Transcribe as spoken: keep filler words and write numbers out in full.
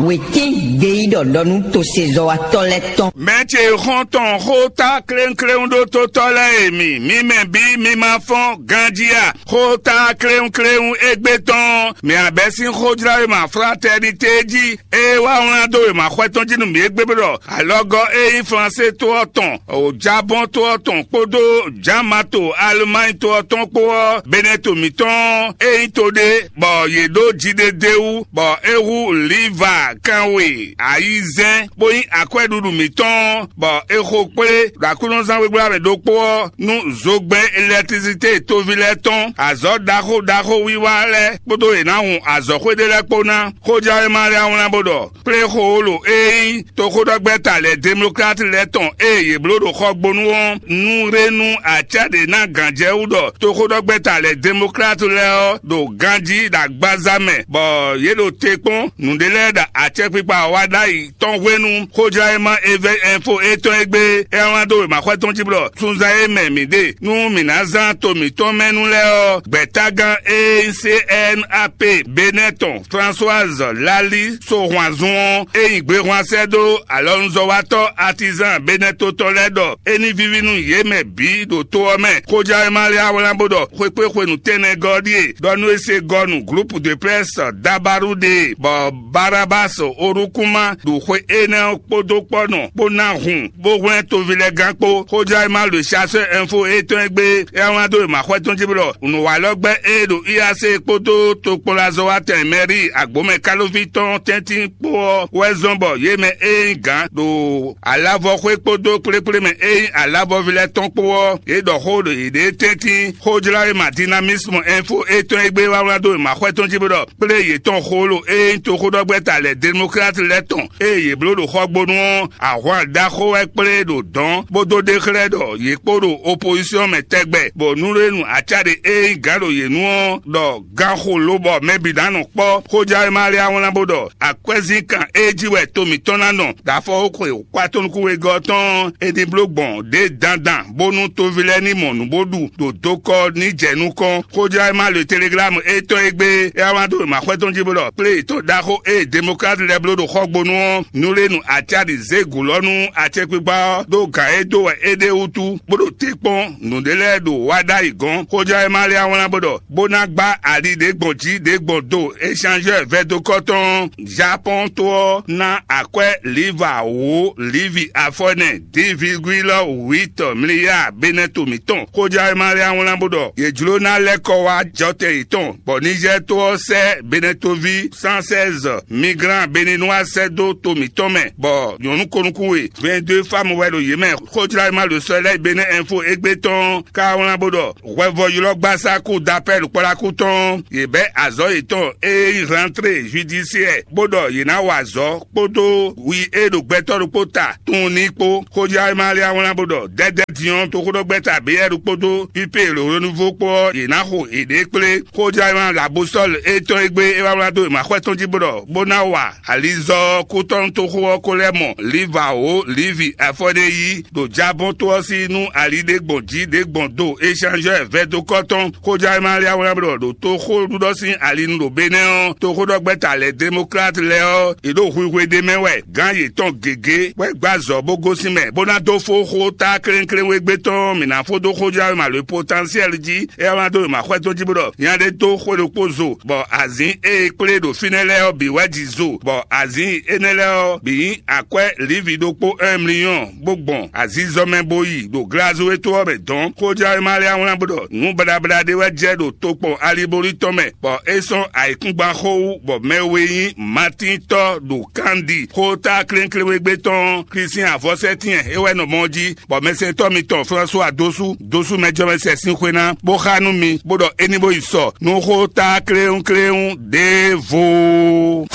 Wětín gbeyíɖɔ ɖɔ nú tosezɔ́watɔ́ lɛ́ɛ tɔn. Mɛ ce xɔ́ntɔn xó tá kléwúnkléwún ɖó tótɔ́ lɛ́ɛ e mi, mi mɛ bǐ mi ma fɔ́n ganjí a? Xó tá kléwúnkléwún égbé tɔn, mi abɛ́ sín xójláwéma fraternité jí, ée wá wlán dó wěmaxwɛ tɔn jí nú mi égbé bó ɖɔ alɔgɔ́ e nyí Flansé to ɔ́ tɔn, Jabɔ́n to ɔ́ tɔn kpódó Jamato Alemányi to ɔ́ tɔn kpó ɔ́, Benɛto mǐtɔn e nyí to ɖé, bɔ yě ɖó jiɖeɖe wú, bɔ é hú Liva kanwe ayizɛ́n, bó nyí akwɛ́ɖuɖu mǐtɔn, bɔ è xo kplé ɖo aklúnɔzán wegblá mɛ ɖokpó ɔ́ nú zogbɛ́n elɛkitrisité toví lɛ́ɛ tɔn, azɔ̌ ɖaxó ɖaxó wiwa lɛ́ɛ kpódó è nǎ hun azɔ̌xwé ɖé lɛ́ɛ kpó ná. Xójɛ́wéma lɛ́ɛ wlán bó ɖɔ kplé xo wolo e nyí toxóɖɔgbɛ́ta lɛ́ɛ Demlokláti lɛ́ɛ tɔn e yě bló ɖo xɔgbónu ɔ́, nú ré nú acá ɖě ná gǎnjɛwú ɖɔ toxóɖɔgbɛ́ta lɛ́ɛ Demlokláti lɛ́ɛ ɔ́ ɖo ganjí ɖo agbaza mɛ, bɔ yě ɖo te kpɔ́n nǔɖé lɛ́ɛ ɖo acɛkpikpa wa ɖ'ayǐ tɔn hwenu. Xójlá e ma Evɛ́ Ɛnfo étɔn e gbé é wlán dó wěmaxɔ́ tɔn jí blɔ sunzán e mɛ mǐ ɖe nú mǐ ná zán to mǐtɔn mɛ nu lɛ́ɛ ɔ́, gbɛ̌tágán e nyí C N A P Benɛ́ tɔn Françoise Lali Sohwanzun ɔ́, e nyi gbehwan sɛ́ dó alɔnuzɔ́watɔ́ atizan Benɛ́ to tɔn lɛ́ɛ ɖɔ é ní víví nú yě mɛ bǐ ɖo to ɔ́ mɛ. Xójlá e ma lɛ́ wlán bó ɖɔ xwekpé hwenu tɛnmɛ gɔ́ ɖíe ɖɔ nú é se gɔ́ nu groupe de presse Dabaru ɖe, bɔ Barabas Orukuma ɖo xwe énɛ́ ɔ́ kpódó kpɔ́nɔ bó ná hun, bó hwlɛ́n toví lɛ́ɛ gán kpó. Xójlá e ma ɖo Chasseur Info étɔn e gbé é wlán dó wěmaxɔ́ tɔn jí blɔ nǔwalɔ́gbɛ́ e ɖo I A C kpódó tokpɔnlazɔ́watɛn mɛrí agbǒmɛ kálóví tɔn tɛ́ntin kpó ɔ́ wɛ zɔ́n bɔ yě mɛ e nyí gǎn ɖo alavɔxwé kpódó kplékplé mɛ e nyí alavɔví lɛ́ɛ tɔn kpó ɔ́, yě ɖɔ xó ɖo yěɖée tɛ́ntin. Xójlá e ma Dinamisme Info étɔn e gbé wá wlán dó wěmaxɔ́ tɔn jí bó ɖɔ kplé yětɔn xó lo e nyí toxóɖɔgbɛ́ta lɛ́ɛ Demlokláti lɛ́ɛ tɔn e yě bló ɖo xɔgbónu ɔ́, ahwan ɖaxó wɛ kplé ɖo dɔ̌n, bó dó ɖe xlɛ́ ɖɔ yě kpó ɖo opozisɔn mɛ tɛgbɛ, bɔ nú ɖé nu acá ɖé e nyí gǎn ɖo yě nu ɔ́, ɖɔ ganxo lobɔ mɛ bǐ ná nɔ kpɔ́. Xójlá e ma lɛ́ wlán bó ɖɔ akwɛ́zínkan e jí wɛ to mǐtɔn ná nɔ ɖo afɔwóxwe kpatɔ́nukúnwegɔ́ tɔn é ní bló gbɔn ɖě dandan, bónú toví lɛ́ɛ ní mɔ nǔ bó ɖu ɖo dokɔ ní jɛ nukɔn. Xójlá e ma le Teleglámu étɔn e gbé é wá wlán dó wěmaxɔ́ tɔn jí bó ɖɔ kplé yětɔn ɖaxó e Demlokláti lɛ́ɛ bló ɖo xɔgbónu ɔ́, nú lé nu acáɖi zé gǔ lɔ nú acɛkpikpa ɔ́ ɖó gǎn e dó wɛ é ɖe wútu, bó ɖo te kpɔ́n nǔɖé lɛ́ɛ ɖo wá ɖ'ayǐ gɔ́n. Xójlá e ma lɛ́ wlán bó ɖɔ bó ná gbá ali ɖě gbɔn jí ɖě gbɔn do échanjɛ́ vɛdokɔ́ tɔn Japɔ́n to ɔ́ ná akwɛ́ liva wǒ livi afɔnɛ divigwilɔ wǐtɔ mliya Benɛto mǐtɔn. Xójlá e ma lɛ́ wlán bó ɖɔ yě jló ná lɛ́ kɔ wá jɔtɛn yětɔn, bɔ Nizɛ́ɛ to ɔ́ sɛ́ Benɛtoví cent seize migrant béninois sɛ́ dó to mǐtɔn mɛ, bɔ nyɔ̌nu konukún we vingt-deux femmes wɛ ɖo yě mɛ. Xójlá e ma ɖo sɔ́ lɛ́ɛ Benɛ́ Info égbé tɔn ka wlán bó ɖɔ hwɛvɔ́ylɔ́gbasá kú dapɛ́ ɖo kpɔ́ɖákú tɔn, yě bɛ́ azɔ̌ yětɔn e nyí rentrée judiciaire, bó ɖɔ yě ná wa azɔ̌ kpódó wi e ɖo gbɛtɔ́ ɖokpó ta tunwun ní kpó. Xójlá e ma lɛ́ wlán bó ɖɔ dɛ́dɛ́ din ɔ́ toxóɖɔgbɛ́ta Beyɛ́ru kpódó Pípé Lǒlónívo kpó ɔ́, yě ná xo yěɖée kplé. Xójlá e ma Labosɔ́l étɔn e gbé é wá wlán dó wěmaxɔ́ tɔn jí bó ɖɔ bó ná wa alizɔ́ kútɔ́nútoxo ɔ́ ko lɛ́ mɔ liva wǒ livi afɔɖéyí ɖo Jabɔ́n to ɔ́ sí nú ali ɖé gbɔn jí ɖě gbɔn do échanjɛ́ vɛdokɔ́ tɔn. Xójlá e ma lɛ́ wlán bó ɖɔ ɖo toxóɖuɖɔ sín ali nu ɖo Benɛ́ ɔ́, toxóɖɔgbɛ́ta lɛ́ɛ Demlokláti lɛ́ɛ ɔ́, yě ɖo hwihwe ɖé mɛ wɛ. Gǎn yětɔn gěgé wɛ gbá azɔ̌ bó gosín mɛ, bó ná dó fó xó tá klénklénwégbé tɔn mǐ ná fó dó xójlá wěma Le Potentiel jí. É wá dó wěma xwɛ tɔn jí bó ɖɔ nya ɖé dó xwé ɖokpó zo, bɔ azǐn e è kplé ɖo fínɛ́ lɛ́ɛ ɔ́ bǐ wɛ ji zo, bɔ azǐn énɛ́ lɛ́ɛ ɔ́ bǐ nyí akwɛ́ Livi ɖokpó un mliyɔ́n, bó gbɔn azizɔ mɛ bó yi ɖo Glazue to ɔ́ mɛ dɔ̌n. Xójlá wěma lɛ́ɛ wlán bó ɖɔ nǔ baɖabaɖa ɖé wɛ jɛ ɖo tokpɔn Alibolí tɔn mɛ, bɔ é sɔ́ ayǐkúngban xó wú, bɔ mɛ we nyí Matín tɔ́ ɖo Kandi xóta klénkléwégbé tɔn Klísin avɔsɛ́tɛ́n e wɛ nɔ mɔ jí, bɔ mɛsɛntɔ́ mitɔn Flɔ́sua dó sú dó sú mɛjɔmɛsɛn sín xwé ná, bó xá nú mi, bó ɖɔ é ní bó yi sɔ nú xóta kléwúnkléwún ɖěvo.